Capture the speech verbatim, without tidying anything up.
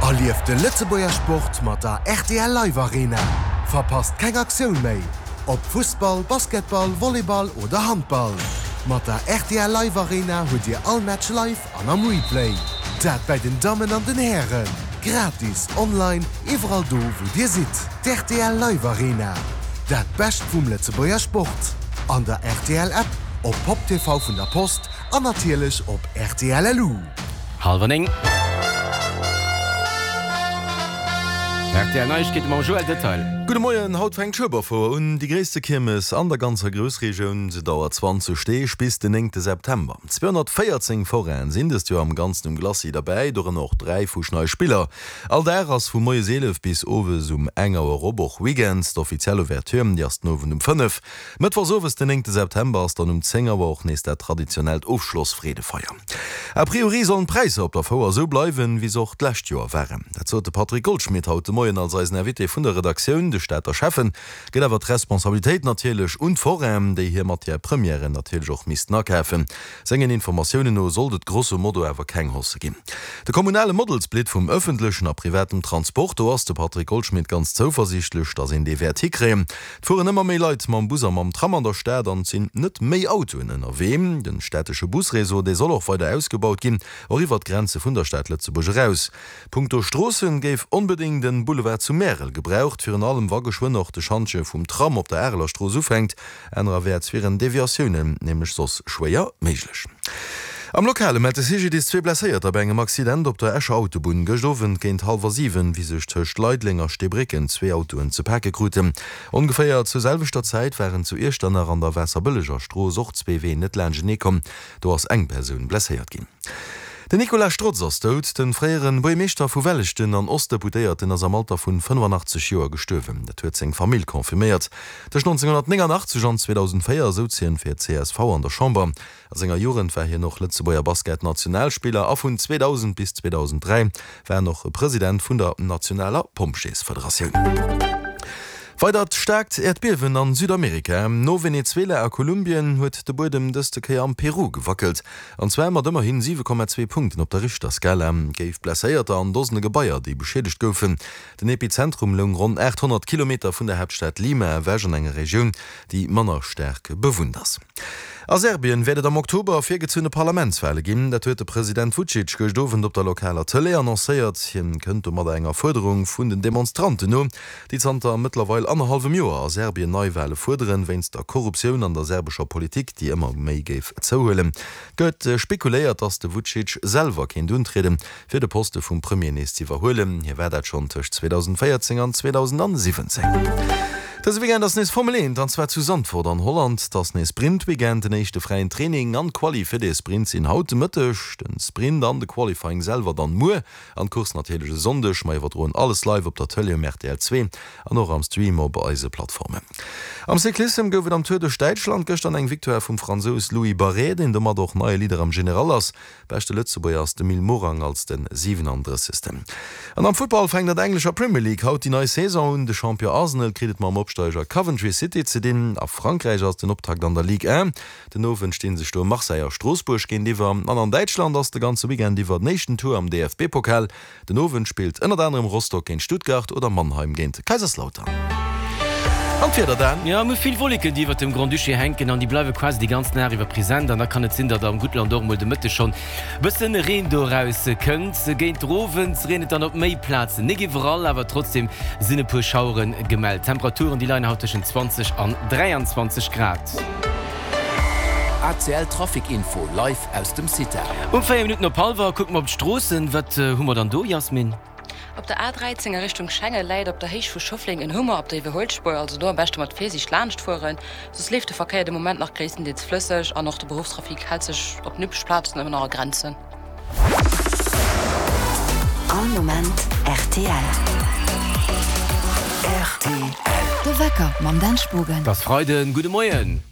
Erlieft de Lëtzebuerger Sport mat der rtl Live Arena. Verpasst keng Aktioun méi! Ob Fussball, Basketball, Volleyball oder Handball. Mat der rtl Live Arena hutt Dir all Match live an am Replay. Dat bei den Dammen an den Hären. Gratis, online, iwwerall do wou Dir sidd. D'rtl Live Arena. Dat Bescht vum Lëtzebuerger Sport. An der rtl App, op Pop T V vun der Post an natierlech op rtl L U. Hallwer néng. R T L Neiegkeete mam Joël Detail. Gudde Moien, haut fänkt d'Schueberfouer un, déi gréisste Kiermes an der ganzer Groussregioun. Se dauert zwanzeg Deeg bis den néngte September. zweehonnertvéierzéng Forainen sinn dëst Joer am Ganzen um Glacis derbäi, dorënner och dräi fuschnei Spiller. All Dag ass vu moies eelef bis owes um eng Auer op, och Weekends. D'offiziell Ouverture, déi ass den Owend um fënnef. Mëttwochs owes den néngte September ass dann um zéng Auer och nees dat traditionellt Ofschlossfreedefeier. A priori sollen d'Präisser op der Fouer esou bleiwen, wéi se och d'lescht Joer waren. Dat sot de Patrick Goldschmidt haut de Moien als eisen Invité vun der Redaktioun. De Stater Schäffen gëtt awer d'Responsabilitéit natierlech un d'Forainen, déi hir Matière premièren natierlech och missten akafen. Sengen Informatiounen no sollt et grosso modo awer keng Hausse ginn. De kommunale Model-Split vum ëffentlechen a privatem Transport, do ass de Patrick Goldschmidt ganz zouversiichtlech, datt een dee wäert hikréien. Et fueren ëmmer méi Leit mam Bus a mam Tram an der Stad an et sinn net méi Autoen ënnerwee. Den städtesche Busreseau, dee soll och weider ausgebaut ginn, och iwwert d'Grenze vun der Stad Lëtzebuerg eraus. Punkto Stroossen géif onbedéngt en Boulevard zu Märel gebraucht, virun allem wa geschwënn och de Schantje vum Tram op der Areler Strooss ufänkt. Anerwäerts wieren Deviatiounen nämlech soss schwéier méiglech. Am Lokale mellt de C G D I S zwee Blesséierter bei engem Accident op der Escher Autobunn gëscht Owend géint hallwer siwen, wéi sech tëscht Leideleng a Steebrécken zwee Autoen ze pake kruten. Ongeféier zur selwechter Zäit waren zu Iechternach an der Waasserbëlleger Strooss och zwee Ween net laanschtenee komm. Do ass eng Persoun blesséiert ginn. Den Nicolas Strotz ass dout. De fréiere Buergermeeschter vu Welleschten an Ostdeputéierten ass am Alter vun fënnefanachtzeg Joer gestuerwen. Dat huet seng Famill confirméiert. Tëscht nonzénghonnertnénganachtzeg an zweedausendvéier souz hien fir d'C S V an der Chamber. A senger Jugend war hien och Lëtzebuerger Basketnationalspiller a vun zweedausend bis zweedausendräi war en och President vun der nationaler Pompjeesfederatioun. Weidert staarkt Äerdbiewen an Südamerika. No Venezuela a Kolumbien huet de Buedem dëste Kéier am Peru gewackelt. An zwar mat ëmmerhin siwe Komma zwee Punkten op der Richterskala. Géif Blesséierter an Dosene Gebaier, déi beschiedegt goufen. Den Epizentrum loung ronn aathonnert Kilometer vun der Haaptstad Lima ewech an enger Regioun, déi manner staark bewunnt ass. A Serbien wäert et am Oktober virgezunne Parlamentswale ginn. Dat huet de President Vucic gëscht Owend op der lokaler Tëlee annoncéiert. Hien kënnt domadder enger Fuerderung vun den Demonstranten no, déi zanter mëttlerweil annerhallwem Joer a Serbien Neiwale fuerderen, wéinst der Korruptioun an der serbescher Politik, déi ëmmer méi géif zouhuelen. Gëtt spekuléiert, datt de Vucic selwer kéint untrieden, fir de Poste vum Premier nees ze iwwerhuelen. Hie war dat schonn tëscht zweedausendvéierzéng an zweedausendsiwwenzéng. Dëse Weekend ass nees Formel eent, an zwar zu Zandvoort an Holland. Et ass nees Sprint-Weekend, den éischte fräien Training an d'Quali fir de Sprint sinn haut de Mëtteg, den Sprint an de Qualifying selwer dann muer an d'Course natierlech e Sonndeg. Mer iwwerdroen alles live op der Tëlee um R T L zwee an och am Stream op eise Plattformen. Am Cyclissem gouf et am Tour duerch Däitschland gëschter eng Victoire vum Fransous Louis Barré, deen domat och neie Leader am General ass. Beschte Lëtzebuerger ass de Mil Morang als de siwenandrëssegsten. An am Futtball fänkt an der englescher Premier League haut déi nei Saison un. De Champion Arsenal kritt et mam Opsteiger Coventry City ze dinn. A Frankräich ass den Optakt an der Ligue un. Den Owend stinn sech do Marseille a Stroossbuerg géintiwwer. An an Däitschland ass de ganze Weekend iwwer den éischten Tour am D F B-Pokal. Den Owend spillt ënnert anerem Rostock géint Stuttgart oder Mannheim géint Kaiserslautern. An d'Wieder dann? Jo, mir hu vill Wolleken, déi iwwert dem Grand-Duché hänken an déi bleiwe quasi déi ganz Nacht iwwer present. An da kann et sinn, datt am Guttland och mol de Mëtteg schonn bëssen Reen doraus kënnt. Géint den Owend reent et dann op méi Plazen, net iwwerall, awer trotzdem sinn e puer Schauere gemellt. D'Temperaturen, déi leien haut tëschent zwanzeg an dräianzwanzeg Grad. A C L Trafic Info live aus dem Cita. Um véier Minutten op hallwer kucke mer op d'Stroossen. Wat hu mer dann do, Jasmin? Op der A dräizéng a Richtung Schengen läit op der Héicht vu Schëffleng en Hummer op der Iwwerhuelspuer, also do am beschte mat Virsiicht laanscht fueren, soss leeft de Verkéier de Moment nach gréisstendeels flësseg an och de Beruffstrafic hält sech op den übleche Plazen ëmmer nach a Grenzen. All Moment R T L. R T L. De Wecker mam Dan Spogen. Et ass Freiden, gudde Moien.